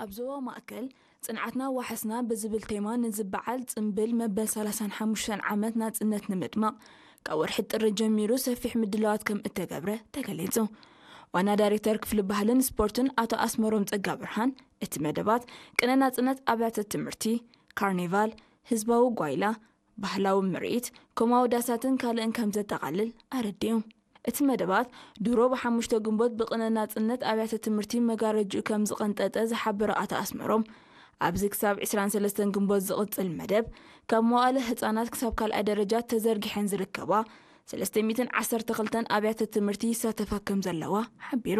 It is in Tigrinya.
ኣብ ዞባ ማእከል ጽንዓትና ዋሕስና ብዝብል ቴማ ንዝበዓል ጽምብል መበል ሰላሳን ሓሙሽተን ዓመት ናጽነት ንምድማቕ ካብ ወርሒ ጥሪ ጀሚሩ ሰፊሕ ምድላዋት ከም እተገብረ ተገሊጹ። ዋና ዳይሬክተር ክፍሊ ባህልን ስፖርትን ኣቶ ኣስመሮም ጸጋ ብርሃን፣ እቲ መደባት ቅነ ናጽነት ኣብያተ ትምህርቲ፣ ካርኒቫል፣ ህዝባዊ ጓይላ፣ ባህላዊ ምርኢት፣ ኮማዊ ዳሳትን ካልእን ከም ዘጠቓልል ኣረዲኡ። እቲ መደባት ድሮ ብሓሙሽተ ግንቦት ብቅነ ናጽነት ኣብያተ ትምህርቲ መጋረጅኡ ከም ዝቐንጠጠ ዝሓበረ ኣቶ ኣስመሮም፣ ኣብዚ ክሳብ ዕስራን ሰለስተን ግንቦት ዝቕጽል መደብ ካብ መዋእለ ህጻናት ክሳብ ካልኣይ ደረጃ ተዘርጊሐን ዝርከባ ሰለስተ ሚእትን ዓሰርተ ክልተን ኣብያተ ትምህርቲ ይሳተፋ ከም ዘለዋ ሓቢሩ።